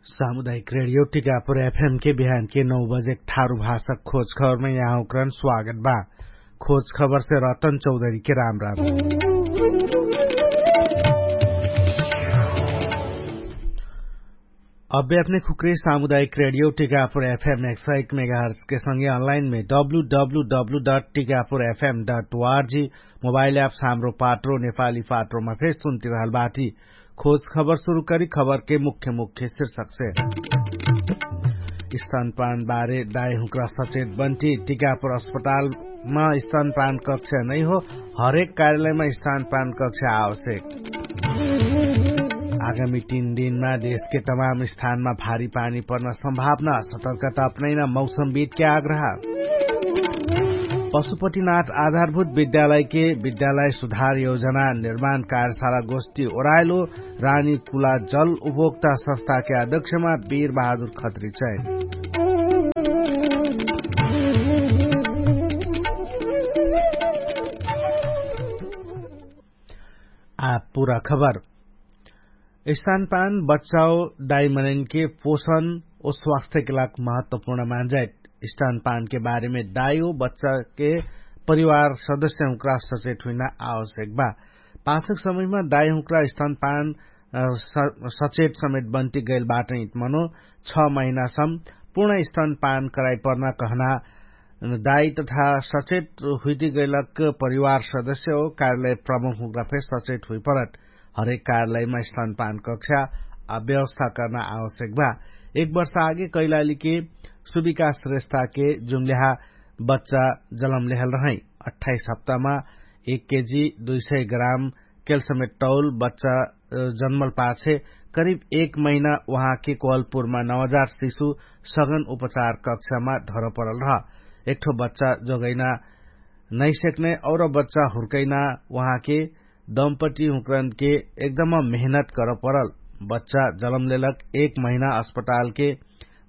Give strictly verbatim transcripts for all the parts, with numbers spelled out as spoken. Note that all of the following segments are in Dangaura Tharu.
सामुदायिक रेडियो टिकापुर एफएम के बिहान के नौ बजे ठारु भाषा खोज खबरमे यहाँ उक्रन स्वागत बा। खोज खबरसे रतन चौधरी के राम राम। अब्बे अपने खुक्रे सामुदायिक रेडियो टिकापुर एफएम एक सौ एक मेगाहर्स के संगे अनलाइनमे W W W dot Tikapur FM dot ORG mobile apps हाम्रो पाट्रो नेपाली पाट्रोमा फेर सुन्ति रहल बाटी। खोज खबर सुरु करी खबरके मुख्य मुख्य शीर्षकसे। स्तनपान बारे दाइ हुँक्रा सचेत बन्टी टिकापुर अस्पतालमा स्तनपान कक्ष नैहो। हरेक कार्यालयमा स्तनपान कक्ष आवश्यक। आगामी तीन दिनमा देशके तमाम स्थानमा भारी पानी पर्न सम्भावना सतर्कता अपनैना मौसमविदके आग्रह। पशुपतिनाथ आधारभूत विद्यालयके विद्यालय सुधार योजना निर्माण कार्यशाला गोष्ठी ओराइलो। रानी कुला जल उपभोक्ता संस्थाके अध्यक्षमा वीर बहादुर खत्री चैन। आ पुरा खबर। स्तनपान बच्चाओ दाइमनैनके पोषण ओ स्वास्थ्यके लाग महत्वपूर्ण मान्जाइत। स्तनपानके बारेमे दाइओ बच्चाके परिवार सदस्यहुँक्रा सचेत हुइना आवश्यक बा। पाछक समयमा दाइहुँक्रा स्तनपान सचेत समेत बन्ति गैल बाटैत मनो छ महिनासम पूर्ण स्तनपान कराइपर्ना कहना दाइ तथा सचेत हुइति गैलक परिवार सदस्य हो कार्यालय प्रमुख हुँक्रा फेर सचेत हुइपरत। हरेक कार्यालयमा स्तनपान कक्षा आ व्यवस्था कर्ना आवश्यक बा। एक वर्ष आगे कैलालीके सुविकास रेस्ताके जुङ्ल्याहा बच्चा जलम लेहल रहै। अट्ठाइस हप्तामा एक केजी दुई सय ग्राम केल्समेट तौल बच्चा जन्मल पाछे करिब एक महिना उहाँके कोहलपुरमा नौ हजार शिशु सगन उपचार कक्षमा धरपरल रह। एकठो बच्चा जोगैना नैसेक्ने और बच्चा हुर्कैना उहाँके दम्पटी हुँक्रनके एकदम मेहनत करपरल। बच्चा जलम लेलक एक महिना अस्पतालके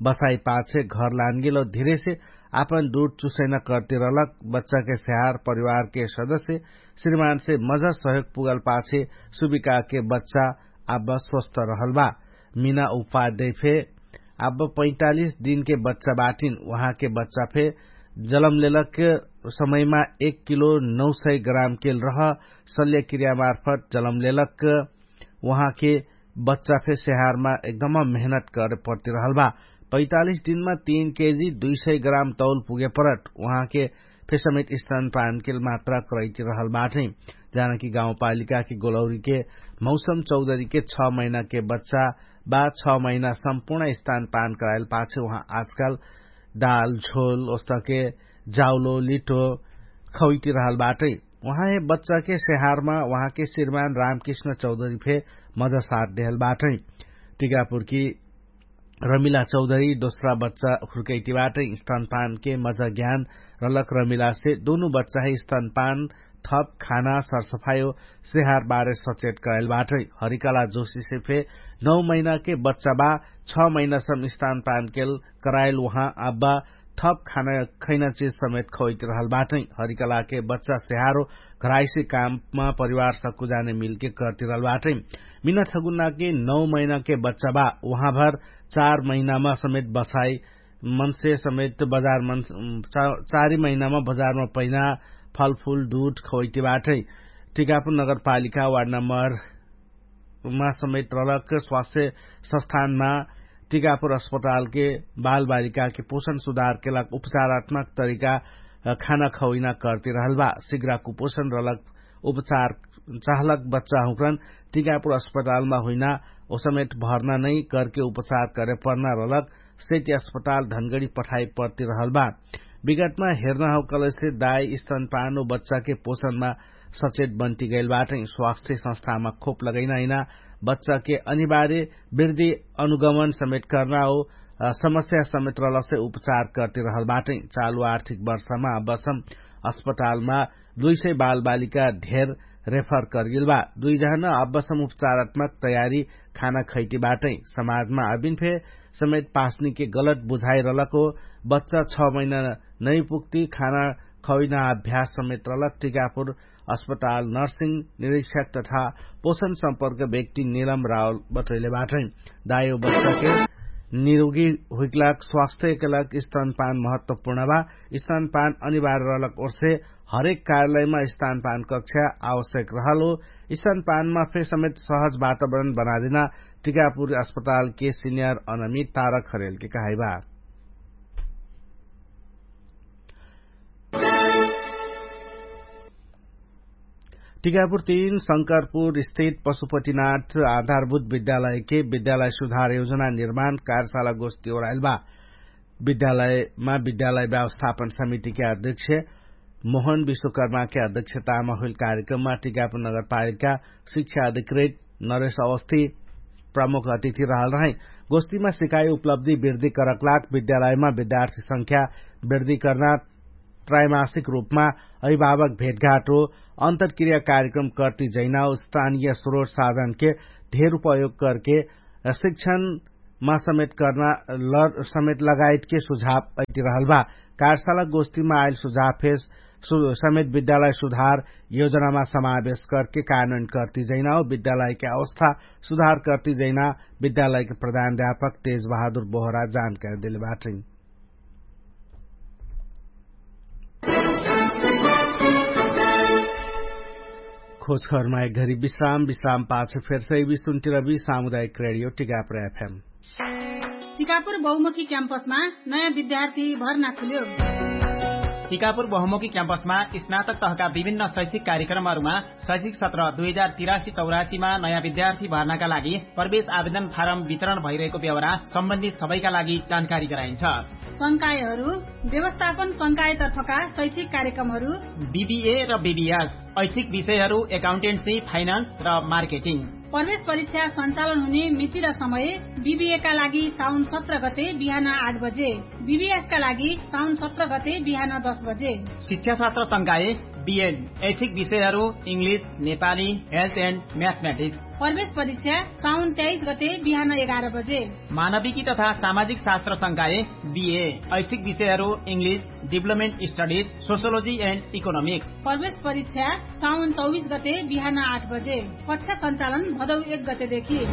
बसाइ पाछे घर लानगेल धिरेसे आपन दुध चुसैना कर्ति रहलक। बच्चाके स्याहार परिवारके सदस्य श्रीमानसे मजा सहयोग पुगल पाछे सुविकाके बच्चा आब स्वस्थ रहल बा। मिना उपाध्याय फे आब पैतालिस दिनके बच्चा बाटिन। उहाँके बच्चा फे जलम लेलक समयमा एक किलो नौ सय ग्राम केल रह शल्यक्रियामार्फत जलम लेलक। उहाँके बच्चा फे स्याहारमा एकदम मेहनत करे पर्ति रहल बा। पैतालिस दिनमा तीन केजी दुई सय ग्राम तौल पुगे परत उहाँके फे समेत स्तनपानके मात्रा करैति रहल बाटै। जानकी गाउँपालिकाके गोलौरीके मौसम चौधरीके छ महिनाके बच्चा बा छ महिना सम्पूर्ण स्तनपान कराइल पाछे उहाँ आजकाल दाल झोल ओस्तके जाउलो लिटो खौइति रहल बाटै। उहाँ हे बच्चाके स्याहारमा उहाँके श्रीमान रामकृष्ण चौधरी फे मजसाथ देहल बाटै। टिकापुरकी रमिला चौधरी दोस्रा बच्चा हुर्कैति बाटै। स्तनपानके मजा ज्ञान रलक रमिलासे दुनु बच्चा हे स्तनपान थप खाना सरसफायो स्याहार बारे सचेत कराइल बाटै। हरिकला जोशीसे फे नौ महिनाके बच्चा बा छ महिनासम स्तनपानके कराइल उहाँ आब्बा थप खाना खैना चिज समेत खवैति रहल बाटै। हरिकलाके बच्चा स्याहारो घराइसी काममा परिवार सक्कु जाने मिलके करति रहल बाटै। मिना ठगुन्नाके नौ महिनाके बच्चा बा उहाँभर चार महिनामा समेत बसाइ मनसे समेत बजारमन चारी महिनामा बजारमा पैना फलफुल दुध खवैति बाटै। टिकापुर नगरपालिका वार्ड नम्बर मा समेत रलक स्वास्थ्य संस्थानमा टिकापुर अस्पतालके बालबालिकाके पोषण सुधारके लाग उपचारात्मक तरिका खाना खवैना करति रहल बा। सिग्रा कुपोषण रलक उपचार चाहलक बच्चा हुँक्रन टिकापुर अस्पतालमा हुइना ओसमेत भर्ना नै करके उपचार करे पर्ना रलक सेति अस्पताल धनगडी पठाइ पर्ति रहल बा। विगतमा हेर्ना हौकलैसे दाइ स्तनपान ओ बच्चाके पोषणमा सचेत बन्ति गैल बाटै। स्वास्थ्य संस्थामा खोप लगैना हिना बच्चाके अनिवार्य वृद्धि अनुगमन समेत कर्ना ओ समस्या समेत रहलसे उपचार करति रहल बाटै। चालु आर्थिक वर्षमा अब्बसम अस्पतालमा दुई सय बालबालिका धेर रेफर करगेल बा। दुई जहन अब्बसम उपचारात्मक तयारी खाना खैति बाटै। समाजमा अबिन फे समेत पासनीके गलत बुझाइ रलक हो बच्चा छ महिना नै पुग्ति खाना खौइना अभ्यास समेत रलक टिकापुर अस्पताल नर्सिङ निरीक्षक तथा पोषण सम्पर्क व्यक्ति निलम रावल बटैले बाटै। दायो बच्चाके निरोगी हुइकलाक स्वास्थ्यकलाक स्तनपान महत्वपूर्ण बा। स्तनपान अनिवार्य रहलक ओर्से हरेक कार्यालयमा स्तनपान कक्षा आवश्यक रहल हो। स्तनपानमा फेर समेत सहज वातावरण बनादिना टिकापुर अस्पतालके सिनियर अनमी तारक खरेलके कहाइबा। टिकापुर तीन शंकरपुर स्थित पशुपतिनाथ आधारभूत विद्यालयके विद्यालय सुधार योजना निर्माण कार्यशाला गोष्ठी ओराइल बा। विद्यालयमा विद्यालय व्यवस्थापन समितिके अध्यक्ष मोहन विश्वकर्माके अध्यक्षतामा होइल कार्यक्रममा टिकापुर नगरपालिका शिक्षा अधिकृत नरेश अवस्थी प्रमुख अतिथि रहल रहै। गोष्ठीमा सिकाइ उपलब्धि वृद्धि करकलाक विद्यालयमा विद्यार्थी संख्या वृद्धि कर्ना त्रैमासिक रूपमा अभिभावक भेटघाट हो अन्तरक्रिया कार्यक्रम कर्ति जैना स्थानीय स्रोत साधनके धेर उपयोग करके शिक्षणमा समेत कर्ना लर समेत लगायतके सुझाव अइति रहल बा। कार्यशाला गोष्ठीमा आइल सुझाव फेस समेत विद्यालय सुधार योजनामा समावेश करके कानुन कर्ति जैना हो विद्यालयके अवस्था सुधार कर्ति जैना विद्यालयके प्रधान अध्यापक तेज बहादुर बोहरा जानकारी देले बाटै। खोजखबरमा एक घरी विश्राम विश्राम पाछ फेर्सै विश्वन्तिरवि सामुदायिक रेडियो टिकापुर एफएम। टिकापुर बहुमुखी क्याम्पसमा नयाँ विद्यार्थी भर्ना खुल्यो। टिकापुर बहुमुखी क्याम्पसमा स्नातक तहका विभिन्न शैक्षिक कार्यक्रमहरूमा शैक्षिक सत्र दुई हजार तिरासी चौरासीमा नयाँ विद्यार्थी भर्नाका लागि प्रवेश आवेदन फारम वितरण भइरहेको बेहोरा सम्बन्धित सबैका लागि जानकारी गराइन्छ। संकायहरू व्यवस्थापन संकायतर्फका शैक्षिक कार्यक्रमहरू बिबिए र बिबिएस, ऐच्छिक विषयहरू एकाउन्टेन्सी फाइनान्स र मार्केटिङ। प्रवेश परीक्षा सञ्चालन हुने मिति र समय बिबिएका लागि साउन सत्र गते बिहान आठ बजे, बिबिएसका लागि साउन सत्र गते बिहान दस बजे। शिक्षाशास्त्र संकाय बिएन, ऐच्छिक विषयहरू इङ्ग्लिस, नेपाली, हेल्थ एन्ड म्याथम्याटिक्स। प्रवेश परीक्षा साउन तेइस गते बिहान एघार बजे। मानविकी तथा सामाजिक शास्त्र संकाय बिए, ऐच्छिक विषयहरू इङ्ग्लिस, डिभलपमेन्ट स्टडिज, सोसियोलोजी एन्ड इकोनोमिक्स। प्रवेश परीक्षा साउन चौबिस गते बिहान आठ बजे। कक्षा सञ्चालन भदौ एक गतेदेखि।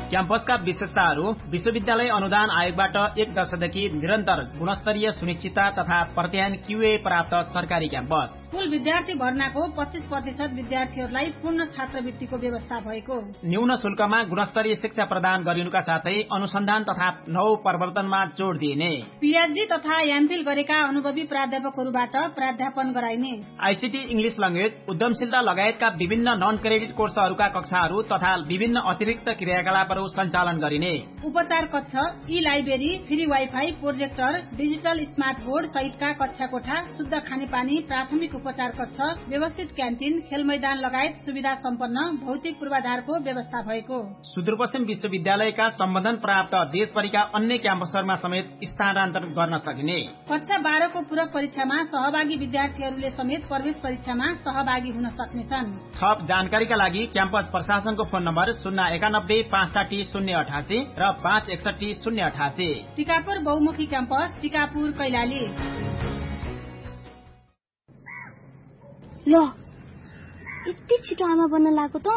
क्याम्पसका विशेषताहरू विश्वविद्यालय अनुदान आयोगबाट एक दशकदेखि निरन्तर गुणस्तरीय सुनिश्चितता तथा प्रत्यायन क्युए प्राप्त सरकारी क्याम्पस। कुल विद्यार्थी भर्नाको पच्चिस प्रतिशत विद्यार्थीहरूलाई पूर्ण छात्रवृत्तिको व्यवस्था भएको। न्यून शुल्कमा गुणस्तरीय शिक्षा प्रदान गरिनुका साथै अनुसन्धान तथा नौ प्रवर्तनमा जोड दिइने। पिएचडी तथा एमफिल गरेका अनुभवी प्राध्यापकहरूबाट प्राध्यापन गराइने। आइसिटी इङ्ग्लिस ल्याङ्ग्वेज उद्यमशीलता लगायतका विभिन्न नन क्रेडिट कोर्सहरूका कक्षाहरू तथा विभिन्न अतिरिक्त क्रियाकलापहरू सञ्चालन गरिने। उपचार कक्ष, ई library, free wifi, projector, digital smart board सहितका कक्षा कोठा, शुद्ध खानेपानी, प्राथमिक उपचार कक्ष, व्यवस्थित क्यान्टिन, खेलमैदान लगायत सुविधा सम्पन्न भौतिक पूर्वाधारको व्यवस्था भएको। सुदूरपश्चिम विश्वविद्यालयका सम्बन्धन प्राप्त देशभरिका अन्य क्याम्पसहरूमा समेत स्थानान्तरण गर्न सकिने। कक्षा बाह्रको पूरक परीक्षामा सहभागी विद्यार्थीहरूले समेत प्रवेश परीक्षामा सहभागी हुन सक्नेछन्। थप जानकारीका लागि क्याम्पस प्रशासनको फोन नम्बर शून्य एकानब्बे पाँच साठी शून्य अठासी र पाँच एकसठी शून्य अठासी। टिकापुर बहुमुखी क्याम्पस, टिकापुर कैलाली। ल, यति छिटो आमा बन्न लागेको त?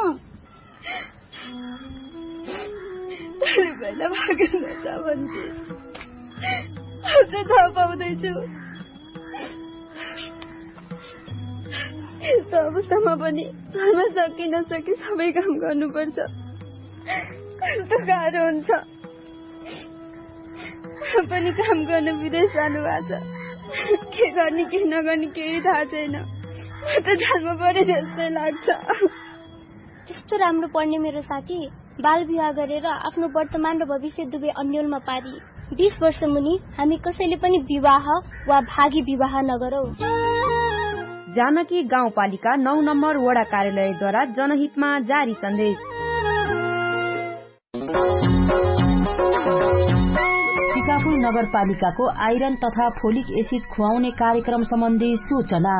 अरे, पहिला भागेर जान्छ भन्थे। अझै थाहा पाउँदैछु। यस्तो अवस्थामा पनि घरमा सके नसके सबै काम गर्नुपर्छ। कस्तो गाह्रो हुन्छ। पनि काम गर्न विदेश जानुभएको छ। के गर्ने के नगर्ने केही थाहा छैन। म त जान्नु पर्यो जस्तै लाग्छ। त्यस्तो राम्रो पढ्ने मेरो साथी बाल विवाह गरेर आफ्नो वर्तमान र भविष्य दुवै अन्यलमा पारी। बिस वर्ष मुनि हामी कसैले पनि विवाह वा भागी विवाह नगरौँ। जानकी गाउँपालिका नौ नम्बर वडा कार्यालयद्वारा जनहितमा जारी सन्देश। टिकापुर नगरपालिकाको आइरन तथा फोलिक एसिड खुवाउने कार्यक्रम सम्बन्धी सूचना।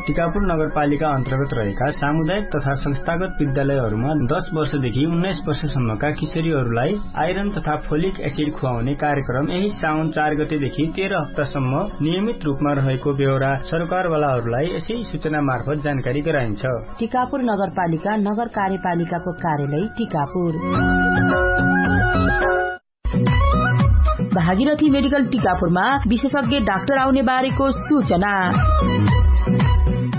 टिकापुर नगरपालिका अन्तर्गत रहेका सामुदायिक तथा संस्थागत विद्यालयहरूमा दस वर्षदेखि उन्नाइस वर्षसम्मका किशोरीहरूलाई आइरन तथा फोलिक एसिड खुवाउने कार्यक्रम यही साउन चार गतेदेखि तेह्र हप्तासम्म नियमित रूपमा रहेको बेहोरा सरकारवालाहरूलाई यसै सूचना मार्फत जानकारी गराइन्छ। टिकापुर नगरपालिका नगर कार्यपालिकाको कार्यालय टिकापुर। भागीरथी मेडिकल टिकापुरमा विशेषज्ञ डाक्टर आउने बारेको सूचना।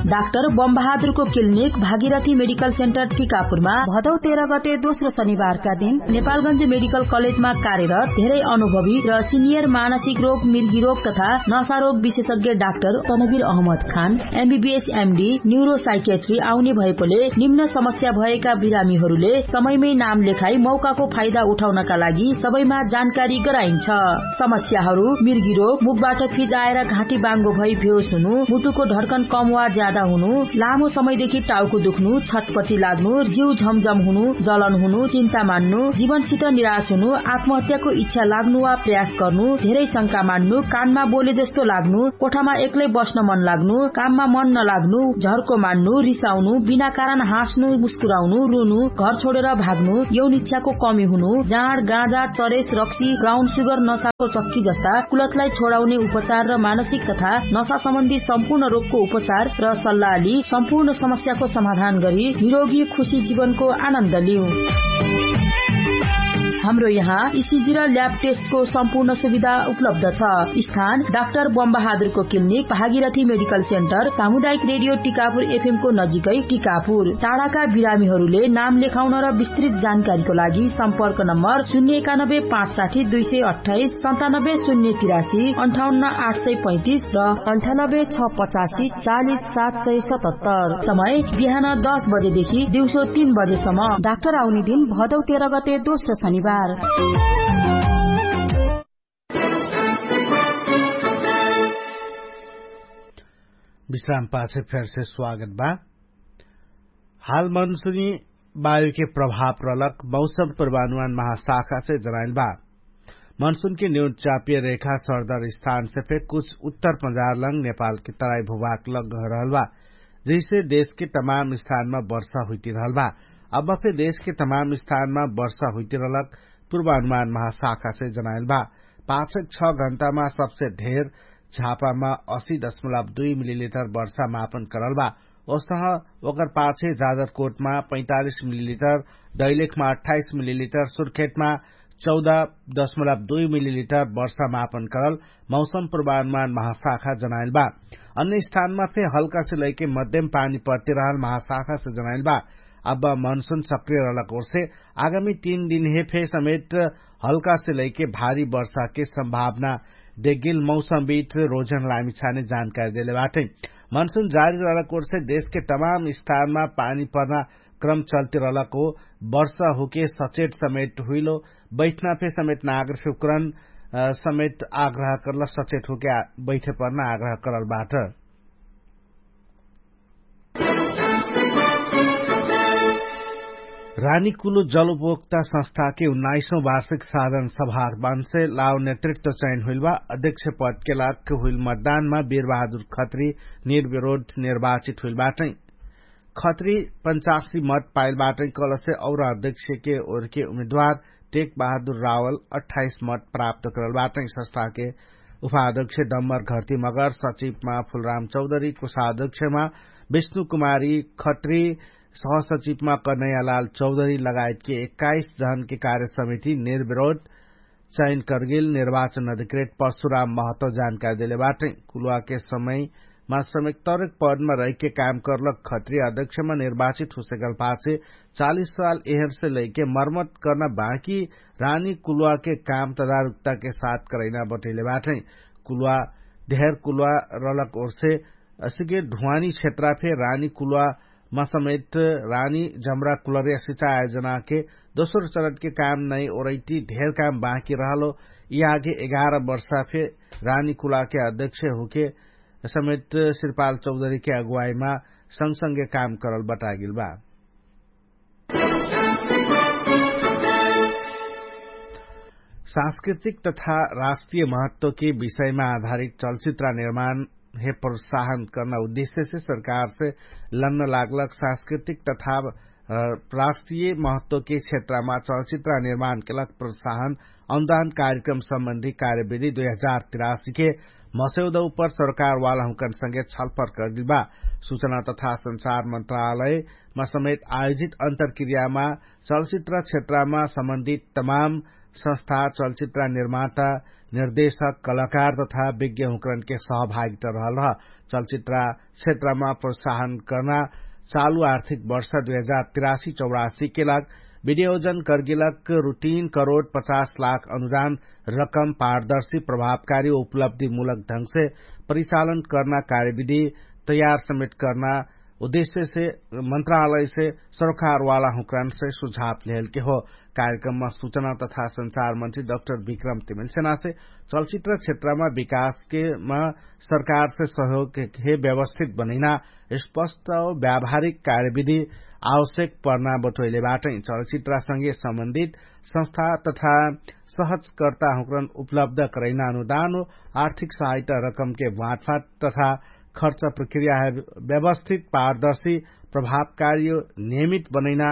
डाक्टर बमबहादुरको क्लिनिक भागीरथी मेडिकल सेन्टर टिकापुरमा भदौ तेह्र गते दोस्रो शनिबारका दिन नेपालगञ्ज मेडिकल कलेजमा कार्यरत धेरै अनुभवी र सिनियर मानसिक रोग, मिर्गी रोग तथा नशा रोग विशेषज्ञ डाक्टर तनवीर अहमद खान एमबीबीएस एमडी न्युरोसाइकेट्री आउने भएकोले निम्न समस्या भएका बिरामीहरूले समयमै नाम लेखाई मौकाको फाइदा उठाउनका लागि सबैमा जानकारी गराइन्छ। समस्याहरू मिर्गी रोग, मुखबाट फिजाएर घाँटी बाङ्गो भई भेउस हुनु, मुटुको ढड्कन कम वा ज्यादा हुनु, लामो समयदेखि टाउको दुख्नु, छटपटी लाग्नु, जिउ झमझम हुनु, जलन हुनु, चिन्ता मान्नु, जीवनसित निराश हुनु, आत्महत्याको इच्छा लाग्नु वा प्रयास गर्नु, धेरै शंका मान्नु, कानमा बोले जस्तो लाग्नु, कोठामा एक्लै बस्न मन लाग्नु, काममा मन नलाग्नु, झर्को मान्नु, रिसाउनु, बिना कारण हाँस्नु, मुस्कुराउनु, रुनु, घर छोडेर भाग्नु, यौन इच्छाको कमी हुनु, जाँड, गाँजा, चरेस, रक्सी, ब्राउन सुगर, नसाको चक्की जस्ता कुलतलाई छोडाउने उपचार र मानसिक तथा नसा सम्बन्धी सम्पूर्ण रोगको उपचार र सल्लाहली सम्पूर्ण समस्याको समाधान गरी निरोगी खुशी जीवनको आनन्द लिउ। हाम्रो यहाँ इसिजी र ल्याब टेस्टको सम्पूर्ण सुविधा उपलब्ध छ। स्थान डाक्टर बमबहादुरको क्लिनिक, भागीरथी मेडिकल सेन्टर, सामुदायिक रेडियो टिकापुर एफएमको नजिकै टिकापुर। टाढाका बिरामीहरूले नाम लेखाउन र विस्तृत जानकारीको लागि सम्पर्क नम्बर शून्य एकानब्बे पाँच साठी दुई सय अट्ठाइस, सन्तानब्बे शून्य तिरासी, अन्ठाउन्न आठ सय पैँतिस र अन्ठानब्बे छ पचासी चालिस सात सय सतहत्तर। समय बिहान दस बजेदेखि दिउँसो तीन बजेसम्म। डाक्टर आउने दिन भदौ तेह्र गते दोस्रो शनिबार। विश्राम पाछे फेरसे स्वागत बा। हाल मनसुनी वायुके प्रभाव रहलक मौसम पूर्वानुमान महाशाखासे जनाइल बा। मनसुनके न्यून चापिय रेखा सरदर स्थानसे फेर कुछ उत्तर पजारलंग नेपालके तराई भूभाग लग रहल बा, जैसे देशके तमाम स्थानमा वर्षा हुइतिरहल बा। अब फेर देशके तमाम स्थानमा वर्षा हुइतिरहलक पूर्वानुमान महाशाखासे जनाइल बा। पाछक छ घण्टामा सबसे ढेर झापामा असी दशमलब दुई मिलिलिटर वर्षा मापन करल बा। ओसह ओकर पाछे जाजरकोटमा पैँतालिस मिलिलिटर, दैलेखमा अट्ठाइस मिलिलिटर, सुर्खेतमा चौध दशमलब दुई मिलिलिटर वर्षा मापन करल मौसम पूर्वानुमान महाशाखा जनाइल बा। अन्य स्थानमा फे हल्कासे लैके मध्यम पानी पर्तिरहल महाशाखासे जनाइल बा। अब मनसुन सक्रिय रहलक ओरसे आगामी तीन दिनहे फे समेत हल्कासे लैके भारी वर्षाके सम्भावना देगिल मौसमविद रोजन लामिछाने जानकारी देले बाटै। मनसुन जारी रहलक ओरसे देशके तमाम स्थानमा पानी पर्ना क्रम चल्तिरहलक हो। वर्षा हुके सचेट समेट हुइलो बैठना फे समेट नागर फिक्रण समेट आग्रह करल सचेट हुके बैठे पर्ना आग्रह करल बाट। रानीकुलो जलउपभोक्ता संस्थाके उन्नाइसौँ वार्षिक साधन सभामानसे लाव नेतृत्व चयन हुइल बा। अध्यक्ष पदके लाग हुइल मतदानमा वीरबहादुर खत्री निर्विरोध निर्वाचित हुइल बाटै। खत्री पञ्चासी मत पाइल बाटै कलसे और अध्यक्षके ओरके उम्मेदवार टेकबहादुर रावल अट्ठाइस मत प्राप्त करल बाटै। संस्थाके उपाध्यक्ष डम्बर घर्ती मगर सचिवमा फुलराम चौधरी कोषाध्यक्षमा विष्णु कुमारी खत्री सहसचिवमा कन्हैयालाल चौधरी लगायतके एक्काइस जहनके कार्यसमिति निर्विरोध चयन करगेल निर्वाचन अधिकृत परशुराम महत्व जानकारी देले बाटै। कुलुवाके समयमा समेत तरेक पदमा रहिके काम करलक खत्री अध्यक्षमा निर्वाचित हुसेकल पाछे चालिस साल एहरसे लैके मर्मत कर्ना बाँकी रानी कुलुवाके काम तदारुकताके साथ करैना बटैले बाटै। कुलुवा धेर कुलुवा रलक ओर्से असिके ढुवानी क्षेत्रा फे रानी कुलुवा मसमेत रानी जम्रा कुलरिया सिचा आयोजनाके दोस्रो चरणके काम नै ओरैटी धेर काम बाँकी रहलो। यि आगे एघार वर्षा फे रानी कुलाके अध्यक्ष हुके समेत श्रीपाल चौधरीके अगुवाईमा संगसंगे काम करल बटागिल बा। सांस्कृतिक तथा राष्ट्रिय महत्वके विषयमा आधारित चलचित्र निर्माण हे प्रोत्साहन कर्ना उद्देश्यसे सरकारसे लन्न लाग्लक सांस्कृतिक तथा राष्ट्रिय महत्वके क्षेत्रमा चलचित्र निर्माण केलक प्रोत्साहन अनुदान कार्यक्रम सम्बन्धी कार्यविधि दुई हजार तिरासीके मसौदा उपर सरकारवाला हुँकन संगे छलफर कर्दिल बा। सूचना तथा संचार मन्त्रालयमा समेत आयोजित अन्तरक्रियामा चलचित्र क्षेत्रमा सम्बन्धित तमाम संस्था चलचित्र निर्माता निर्देशक कलाकार तथा विज्ञ हुँकरनके सहभागिता रहल रह। चलचित्र क्षेत्रमा प्रोत्साहन कर्ना चालु आर्थिक वर्ष दुई हजार तिरासी चौरासीके लाग विनियोजन कर्गिलक रु तीन करोड पचास लाख अनुदान रकम पारदर्शी प्रभावकारी उपलब्धिमूलक ढंगसे परिचालन कर्ना कार्यविधि तयार समेत कर्ना उद्देश्यसे मन्त्रालयसे सरोकारवाला हुँकरानसे सुझाव लेहलके हो। कार्यक्रममा सूचना तथा संचार मन्त्री डक्टर विक्रम तिमिलसेनासे चलचित्र क्षेत्रमा विकासकेमा सरकारसे सहयोगके व्यवस्थित बनैना स्पष्ट व्यावहारिक कार्यविधि आवश्यक पर्ना बटोइले बाटै चलचित्रसँगे सम्बन्धित संस्था तथा सहजकर्ता हुँकरन उपलब्ध करैना अनुदान आर्थिक सहायता रकमके बाँटफाट तथा खर्च प्रक्रिया है व्यवस्थित पारदर्शी प्रभावकारी नियमित बनैना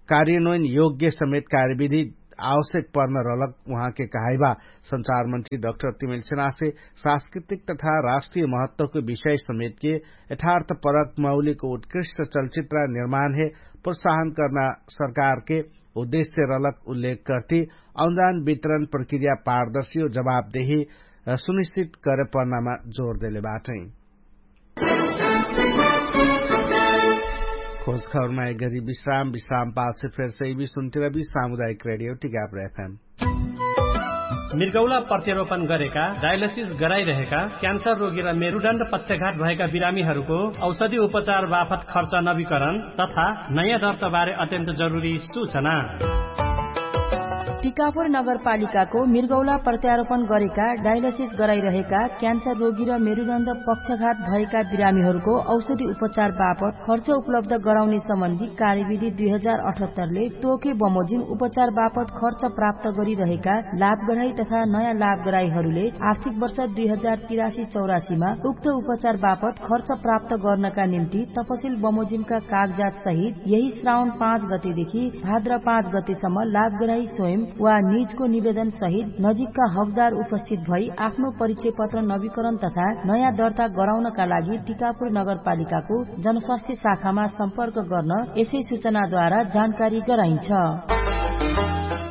कार्यन्वयन योग्य समेत कार्यविधि आवश्यक पर्न रहलक उहाँके कहाइबा। संचार मन्त्री डक्टर तिमिलसेनासे सांस्कृतिक तथा राष्ट्रिय महत्वको विषय समेतके यथार्थ परक मौलिक उत्कृष्ट चलचित्र निर्माणहे प्रोत्साहन कर्ना सरकारके उद्देश्य रहलक उल्लेख कर्ति अनुदान वितरण प्रक्रिया पारदर्शी जवाबदेही सुनिश्चित करे पर्नामा जोर देले बाटै। खोज खबरमा एक गरी विश्राम विश्राम पाछे फेर सैवी सुन्तिरबी सामुदायिक रेडियो टिकापुर एफएम। मिर्गौला प्रत्यारोपण गरेका डायलसिस गराइरहेका क्यान्सर रोगी र मेरुडण्ड पक्षघात भएका बिरामीहरूको औषधि उपचार बापत खर्च नवीकरण तथा नयाँ दर्ताबारे अत्यन्त जरुरी सूचना। टिकापुर नगरपालिकाको मिर्गौला प्रत्यारोपण गरेका डायलसिस गराइरहेका क्यान्सर रोगी र मेरुदण्ड पक्षघात भएका बिरामीहरूको औषधि उपचार बापत खर्च उपलब्ध गराउने सम्बन्धी कार्यविधि दुई हजार अठहत्तरले तोके बमोजिम उपचार बापत खर्च प्राप्त गरिरहेका लाभग्राही तथा नयाँ लाभग्राहीहरूले आर्थिक वर्ष दुई हजार तिरासी चौरासीमा उक्त उपचार बापत खर्च प्राप्त गर्नका निम्ति तपसिल बमोजिमका कागजात सहित यही श्रावण पाँच गतेदेखि भाद्र पाँच गतेसम्म लाभग्राही स्वयं वा निजको निवेदन सहित नजिकका हकदार उपस्थित भई आफ्नो परिचय पत्र नवीकरण तथा नयाँ दर्ता गराउनका लागि टिकापुर नगरपालिकाको जनस्वास्थ्य शाखामा सम्पर्क गर्न यसै सूचनाद्वारा जानकारी गराइन्छ।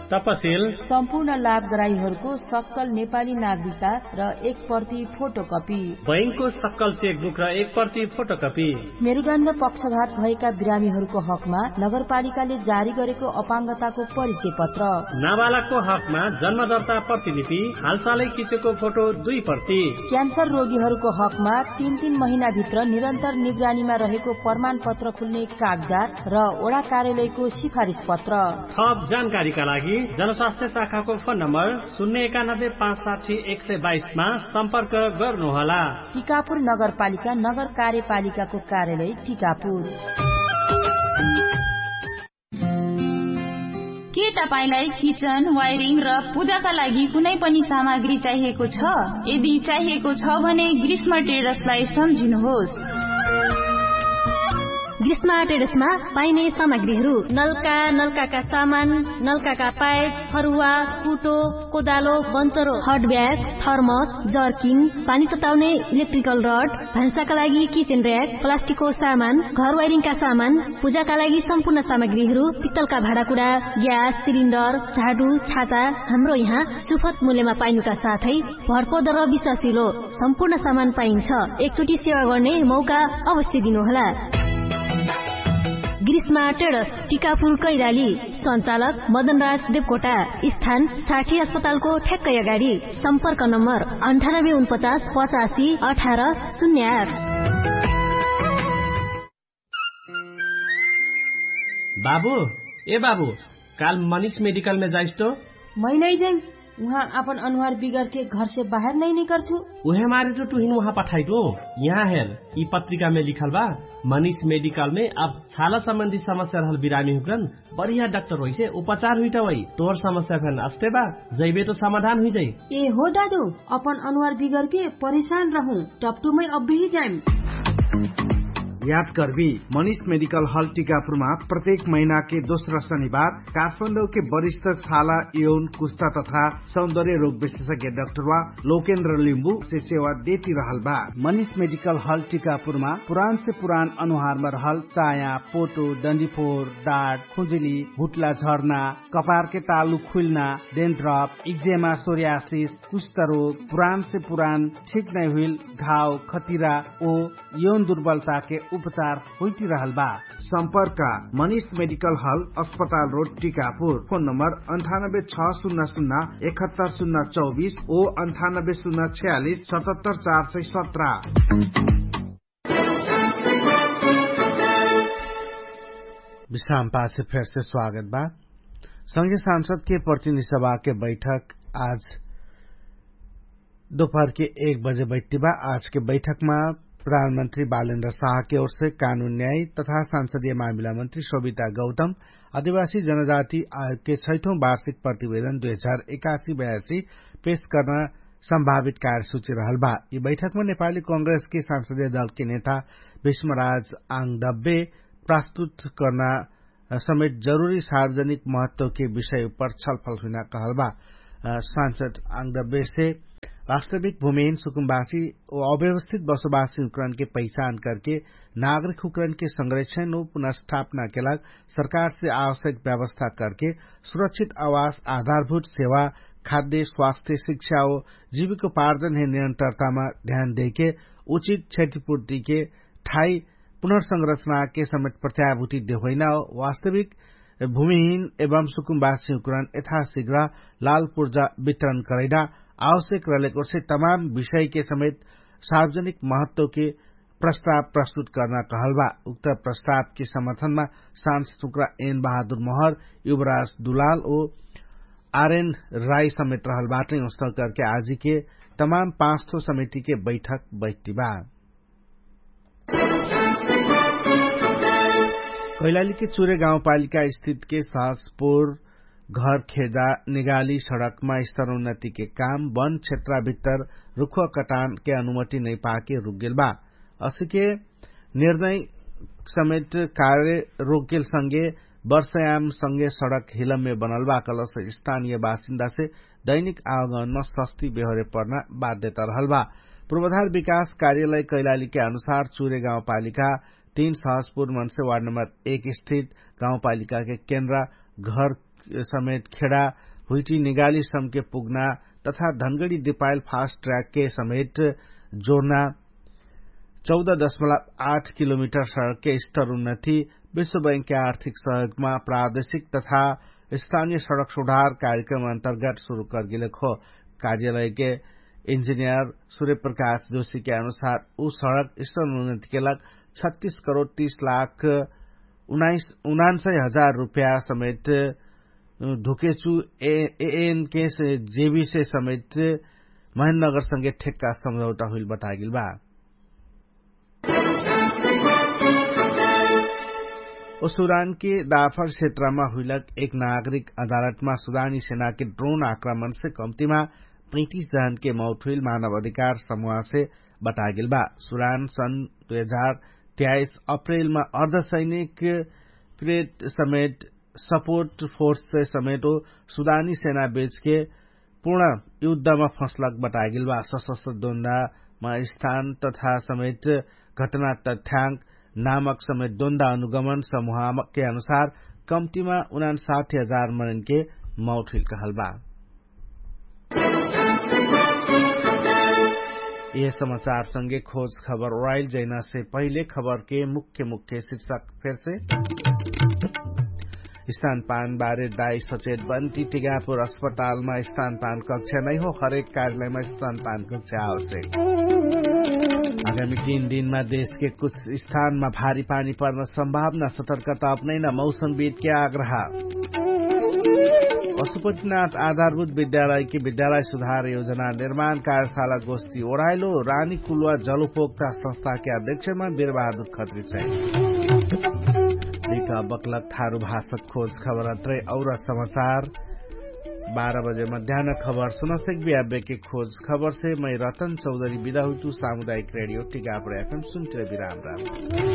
तपसिल सम्पूर्ण लाभग्राहीहरूको सक्कल नेपाली नागरिकता र एक प्रति फोटोकपी, बैंकको सक्कल चेकबुक र एक प्रति फोटोकपी, मेरुदण्ड पक्षघात भएका बिरामीहरूको हकमा नगरपालिकाले जारी गरेको अपाङ्गताको परिचय पत्र, नाबालकको हकमा जन्मदर्ता प्रतिलिपि, हालसालै खिचेको फोटो दुई प्रति, क्यान्सर रोगीहरूको हकमा तीन तीन महिनाभित्र निरन्तर निगरानीमा रहेको प्रमाणपत्र खुल्ने कागजात र ओडा कार्यालयको सिफारिस पत्र। थप जानकारीका लागि जनस्वास्थ्य शाखाको फोन नम्बर शून्य एकानब्बे पाँच साठी एक सय बाइसमा सम्पर्क गर्नुहोला। टिकापुर नगरपालिका नगर कार्यपालिकाको कार्यालय टिकापुर। के तपाईंलाई किचन वायरिङ र पूजाका लागि कुनै पनि सामग्री चाहिएको छ? यदि चाहिएको छ भने ग्रीष्म टेडर्सलाई सम्झिनुहोस्। ग्रीष्म टेडर्समा पाइने सामग्रीहरू नलका नलकाका सामान, नलकाका पाइप, फरुवा, कुटो, कोदालो, बन्चरो, हटब्याग, थर्मस, जर्किङ, पानी तताउने इलेक्ट्रिकल रड, भान्साका लागि किचेन र्याक, प्लास्टिकको सामान, घर वाइरिङका सामान, पूजाका लागि सम्पूर्ण सामग्रीहरू, पित्तलका भाँडाकुडा, ग्यास सिलिन्डर, झाडु, छाता, हाम्रो यहाँ सुफत मूल्यमा पाइनुका साथै भरपर्दो र विश्वासिलो सम्पूर्ण सामान पाइन्छ। एकचोटि सेवा गर्ने मौका अवश्य दिनुहोला। ग्रीष्मा टेडस, टिकापुर कैराली। सञ्चालक मदनराज देवकोटा। स्थान साठी अस्पतालको ठ्याक्कै अगाडि। सम्पर्क नम्बर अन्ठानब्बे उनपचास पचासी अठार शून्य आठ। बाबु, ए बाबु, काल मनिष मेडिकलमे जाइस तो? मै नै जाइम। उहाँ आपन अनुहार बिगरके घरसे बाहेर नै निकर्छु। उहे मारे तो टुहिन उहाँ पठाइटु। यहाँ हेर, यि पत्रिकामे लिखल बा। मनिष मेडिकलमे अब छाला सम्बन्धी समस्या रहल बिरामी हुकरन बढिया डाक्टर होइसे उपचार हुइटा होइ। तोहर समस्या फेन अस्ते बा, जैबे तो समाधान हुइजाइ। ए हो दादु, अपन अनुहार बिगरके परेशान रहु। टपटुमै अब्बेही जाइम। याद करबी, मनिष मेडिकल हल टिकापुरमा प्रत्येक महिनाके दोस्रा शनिबार काठमाडौके वरिष्ठ छाला यौन कुस्ता तथा सौन्दर्य रोग विशेषज्ञ डाक्टरवा लोकेन्द्र लिम्बु से सेवा देती रहल बा। मनिष मेडिकल हल टिकापुरमा पुरान से पुरान अनुहारमा रहल चाया, पोटो, डन्डीफोर, डाट, खुजुली, हुट्ला, झर्ना, कपारके तालु खुइल्ना, डेन्ड्रप, इक्जेमा, सोर्यासिस, कुष्ठरोग, पुरान से पुरान ठीक नै हुइल घाव, खतिरा ओ यौन दुर्बलताके उपचार होइटिरहल बा। सम्पर्क मनिष मेडिकल हल, अस्पताल रोड, टिकापुर। फोन नम्बर अन्ठानब्बे छ सुन्ना सुन्ना एकहत्तर सुन्ना चौबिस ओ अन्ठानब्बे सुन्ना छयालिस सतहत्तर चार सय सत्र। विश्राम पाछे फेरसे स्वागत बा। संघीय सांसदके प्रतिनिधि सभाके बैठक आज दोपहरके एक बजे बैठ्टी बा। आजके बैठकमा प्रधानमन्त्री बालेन्द्र साहके ओरसे कानुन न्याय तथा सांसदीय मामिला मन्त्री शोभिता गौतम आदिवासी जनजाति आयोगके छैठौं वार्षिक प्रतिवेदन दुई हजार एकासी बयासी पेश कर्ना सम्भावित कार्यसूची रहल बा। यि बैठकमा नेपाली कांग्रेसके सांसदीय दलके नेता भीष्मराज आङदब्बे प्रस्तुत कर्ना समेत जरुरी सार्वजनिक महत्वके विषय उपर छलफल हुइना कहल बा। सांसद आङदब्बे से वास्तविक भूमिहीन सुकुम्बासी ओ अव्यवस्थित बसोबासी हुँकरणके पहिचान करके नागरिक हुँकरणके संरक्षण ओ पुनर्स्थापनाके लाग सरकारसे आवश्यक व्यवस्था करके सुरक्षित आवास, आधारभूत सेवा, खाद्य, स्वास्थ्य, शिक्षा ओ जीविकोपार्जनहे निरन्तरतामा ध्यान देके उचित क्षतिपूर्तिके ठाई पुनर्संरचनाके समेत प्रत्याभूति देहोइना ओ वास्तविक भूमिहीन एवं सुकुम्बासी हुँकरण यथाशीघ्र लालपुर्जा वितरण करैना आवश्यक रहलेकोसे तमाम विषयके समेत सार्वजनिक महत्वके प्रस्ताव प्रस्तुत कर्ना कहल बा। उक्त प्रस्तावके समर्थनमा सांसद सुक्रा एन बहादुर महर, युवराज दुलाल ओ आरएन राई समेत रहल बाटै। उस्तल करके आजिके तमाम पाँच ठो समितिके बैठक बैठ्टी बा। कैलालीके चुरे गाउँपालिका स्थितके सहजपुर घर खेदा निगाली सडकमा स्तरोन्नतिके काम वन क्षेत्रा भित्तर रुखुवा कटानके अनुमति नैपाके रुकगेल बा। असिके निर्णय समेत कार्य रोकगेल संगे वर्षयाम संगे सडक हिलममे बनल बा कलस स्थानिय बासिन्दासे दैनिक आवागमनमा सस्ती बेहोरे पर्ना बाध्यता रहल बा। पूर्वधार विकास कार्यालय कैलालीके अनुसार चुरे गाउँपालिका तीन सहजपुर मनसे वार्ड नम्बर एक स्थित गाउँपालिकाके केन्द्रा घर समेत खेडा हुइटी निगाली समके पुग्ना तथा धनगडी दिपाइल फास्ट ट्र्याकके समेत जोर्ना चौध दशमलव आठ किलोमिटर सडकके स्तर उन्नति विश्व बैंकके आर्थिक सहयोगमा प्रादेशिक तथा स्थानिय सडक सुधार कार्यक्रम अन्तर्गत सुरु करगेलेक हो। कार्यालयके इन्जिनियर सुर्यप्रकाश जोशीके अनुसार उ सडक स्तर उन्नतिके लाग छत्तीस करोड तीस लाख उनान्सय हजार रुपया समेत धुकेचु एएनके जेबीसे समेत महेन्द्रनगरसँगे ठेक्का सम्झौटा हुइल बतागेल बा। ओ सुदानके दाफर क्षेत्रमा हुइलक एक नागरिक अदालतमा सुदानी सेनाके ड्रोन आक्रमणसे कम्तिमा पैतिस जहनके मौत हुइल मानव अधिकार समुहसे बतागेल बा। सुदान सन् दुई हजार तेइस अप्रेलमा अर्धसैनिक प्रेट समेत सपोर्ट फोर्ससे समेटो सुदानी सेना बेचके पूर्ण युद्धमा फँसलक बतागेल बा। सशस्त्र दोन्दामा स्थान तथा समेट घटना तथ्याङ्क नामक समेट दोन्दा अनुगमन समुहामकके अनुसार कम्तिमा उनान साठ्ठी हजार मनैनके मौठिल कहल बा। यह समाचारसँगे खोज खबर ओराइल जैनासे पहिले खबरके मुख्य मुख्य शिर्षक फेरसे। स्थान पान बारे दाई सचेत बन्ति टिगापुर अस्पतालमा स्थान पान कक्षा नैहो हरेक कार्यालयमा स्थान पान कक्षा आवश्यक। आगामी तीन दिनमा देशके कुछ स्थानमा भारी पानी पर्न सम्भावना सतर्कता अपनैना मौसमविदके आग्रह। पशुपतिनाथ आधारभूत विद्यालयके विद्यालय सुधार योजना निर्माण कार्यशाला गोष्ठी ओराइलो रानी कुलुवा जलुपोक्ता संस्थाके अध्यक्षमा बिरबहादुर खत्री चाहिँ। लिका बक्लक थारु भाषक खोज खबर अत्रै और समाचार बाह्र बजे मध्यान खबर सुनसेक बियाबेके खोज खबरसे मै रतन चौधरी बिदा हुइतु सामुदायिक रेडियो टिकापुर एफएम सुन्टिर बिराम राम।